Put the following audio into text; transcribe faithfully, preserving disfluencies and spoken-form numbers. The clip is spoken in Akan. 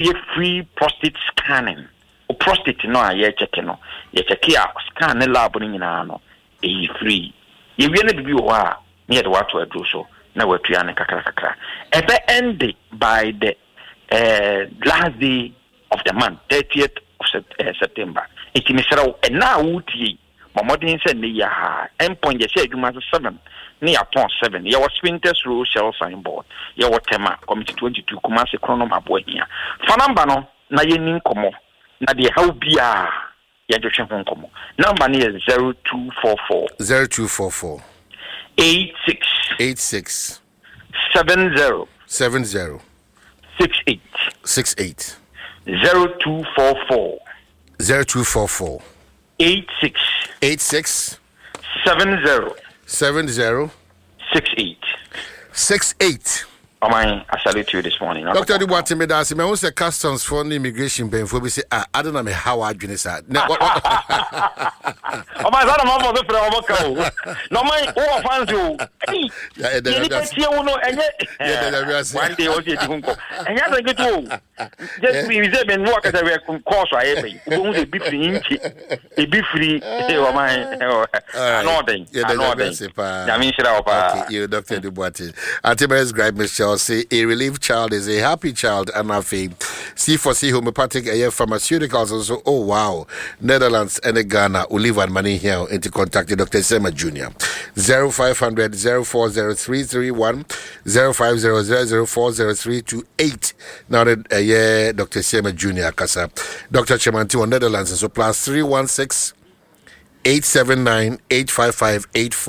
Yɛ free prostate scanning. O prostate no a yɛkyɛke no, yɛkyɛke a, scan ne lab no nyinaa no ɛyi free. Yɛwie no, biribi wɔ hɔ a ne yɛde wato aduro so na watua ne kakra kakra. Ɛbɛ end by the uh, last day of the month, thirtieth of uh, September. Nti mesrɛ wo, ɛna a wotie, bɔ mmɔden sɛ nnɛ yi aha Endpoint yɛhyɛ adwuma ase seven ne yɛapɔn seven. Yɛwɔ Spintex Road, Shell signboard. Yɛwɔ Tema Community twenty-two, Kumase, Kronom Aboahia. Fa number no na yɛni nkɔmmɔ na deɛ haw biaa yɛntwetwe ho nkɔmmɔ. Number no yɛ zero two four four zero two four four eight six eight six seven zero seven zero six eight. six eight. zero two four four zero two four four eight six eight six seven zero seven zero six eight. six eight. Ɔman, I salute you this morning. Doctor Adu Boateng, meda ase. Mahu sɛ customs foɔ ne immigration mpanyinfoɔ bi sɛ, ah, ade na meha w'adwene saa. Na- wa- wa- Ɔman, saa na mafɔ so frɛ ɔmɔ ka o, na ɔman wowɔ fans o. Ei, Ya, ɛda deɛ Nyame nipa ase. tie wo no ɛnyɛ Yɛda Nyame ase. one day ɔsɛ yɛdi ho nkɔ, ɛnyɛ asɛ nketewa o. Just bi sɛ mɛ nu akasa wɛ kɔɔso ayɛ bɛyi, wobɛhu sɛ ebi firi nkye, ebi firi ɔman ano ɔden. Yɛda Ano Nyame ɔden. ase paa. Nyame nhyira wo paa. Okay, you Doctor Adu Boateng. Auntie Mary's Gripe Michelle say a relieved child is a happy child. And afe C four C Homeopathic A Pharmaceuticals also. Oh wow. Netherlands and Ghana. Olive and money here. Into contact Doctor Sema Junior zero five hundred zero four zero three three one zero five zero zero four zero three two eight. Now that uh, yeah, Doctor Sema Junior Kasa. Doctor Chemanti on Netherlands. So plus three one six eight seven nine eight five five eight four.